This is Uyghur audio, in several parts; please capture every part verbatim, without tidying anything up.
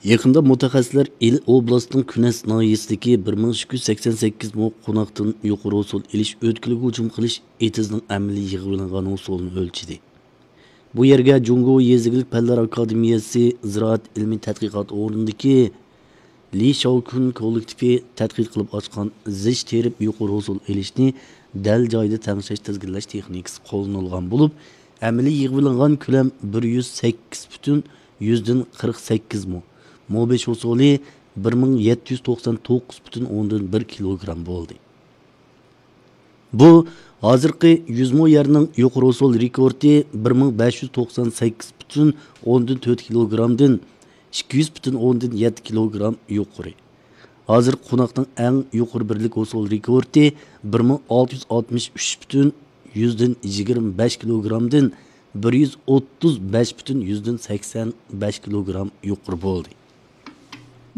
يېقىندا مۇتەخەسسىسلەر ئىلى ئوبلاستىنىڭ كۈنەس ناھىيەسىدىكى بىر مىڭ ئىككى يۈز سەكسەن سەككىز مو قوناقتىن يۇقىرى ھوسۇل ئېلىش ئۆتكىلىگە ھۇجۇم قىلىش ئېتىزنىڭ ئەمەلىي يىغىۋېلىنغان ھوسۇلىنى ئۆلچىدى. بۇ يەرگە جۇڭگو يېزا ئىگىلىك پەنلەر ئاكادېمىيەسى زىرائەت ئىلمىي تەتقىقات ئورنىدىكى لى شاۋكۈن كوللېكتىپى تەتقىق قىلىپ ئاچقان زىچ تېرىپ يۇقىرى ھوسۇل ئېلىشنى دەل جايىدا تەڭشەش تىزگىنلەش تېخنىكىسى قوللىنىلغان بولۇپ، ئەمەلىي يىغىۋېلىنغان كۆلەم بىر يۈز سەككىز پۈتۈن يۈزدىن قىرىق سەككىز مو، مو بەش ھوسۇلى بىر مىڭ يەتتە يۈز توقسان توققۇز پۈتۈن ئوندىن بىر كىلوگرام بولدى. بۇ ھازىرقى يۈز مو يەرنىڭ يۇقىرى ھوسۇل رېكورتى بىر مىڭ بەش يۈز توقسان سەككىز پۈتۈن ئوندىن تۆت كىلوگرامدىن ئىككى يۈز پۈتۈن ئوندىن يەتتە كىلوگرام يۇقىرى. ھازىرقى قوناقنىڭ ئەڭ يۇقىرى بىرلىك ھوسۇل رېكورتى بىر مىڭ ئالتە يۈز ئاتمىش ئۈچ پۈتۈن يۈزدىن يىگىرمە بەش كىلوگرامدىن بىر يۈز ئوتتۇز بەش پۈتۈن يۈزدىن سەكسەن بەش كىلوگرام يۇقىرى بولدى.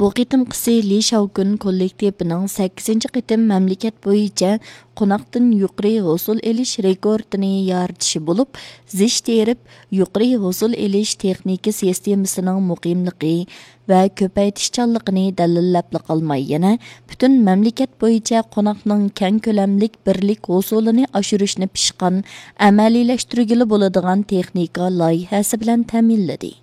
بۇ قېتىمقىسى لى شاۋكۈن كوللېكتىپىنىڭ سەككىزىنچى قېتىم مەملىكەت بويىچە قوناقتىن يۇقىرى ھوسۇل ئېلىش رېكورتىنى يارىتىشى بولۇپ، زىچ تېرىپ يۇقىرى ھوسۇل ئېلىش تېخنىكا سىستېمىسىنىڭ مۇقىملىقى ۋە كۆپەيتىشچانلىقىنى دەلىللەپلا قالماي، يەنە پۈتۈن مەملىكەت بويىچە قوناقنىڭ كەڭ كۆلەملىك بىرلىك ھوسۇلىنى ئاشۇرۇشنى پىشقان، ئەمەلىيلەشتۈرگىلى بولىدىغان تېخنىكا لايىھەسى بىلەن تەمىنلىدى.